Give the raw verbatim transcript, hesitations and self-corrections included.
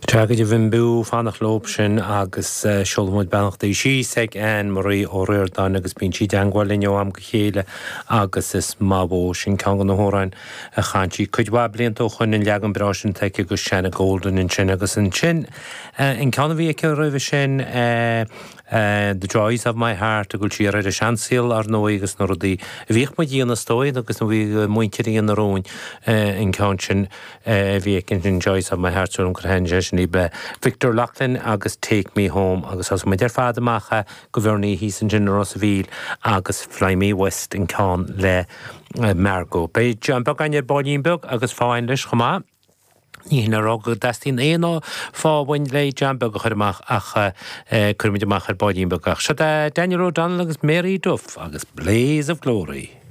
Tá go bhim bú fanacht leo sin agus seolaimid beannachtaí síos ag Anne Marie Ó Ríordáin agus bíonn sí i dteagmháil linn ó am go chéile agus is maith sin ceann de na hamhráin a chan sí cuid mhaith blianta ó shin an leagan breá sin aici agus Shanna Golden ansin agus ansin an ceann a bhí aici roimhe sin Uh, the Joys of My Heart a bhfuil sí ar ar a seansaol ar ndóigh agus na rudaí a bhíodh muid a dhéanamh is dóigh agus na bhí muintir na róin an ceann sin bhí sin Joys of My Heart an chu sin í be Victor Loughlin agus Take Me Home agus as muid ar fad amach go bhharní hí sin sin Ros Mhíl agus Fly Me West an ceann le Margot. Beidh John Beag ar baillín beag agus fáin leis chomh maith. Ní hin rá go dteastaíonn aon fábhain le John Beag a chur amach ach cuirfimid amach ar baillín beag ach. Seo Daniel O'Donnell agus Mary Duff agus Blaze of Glory.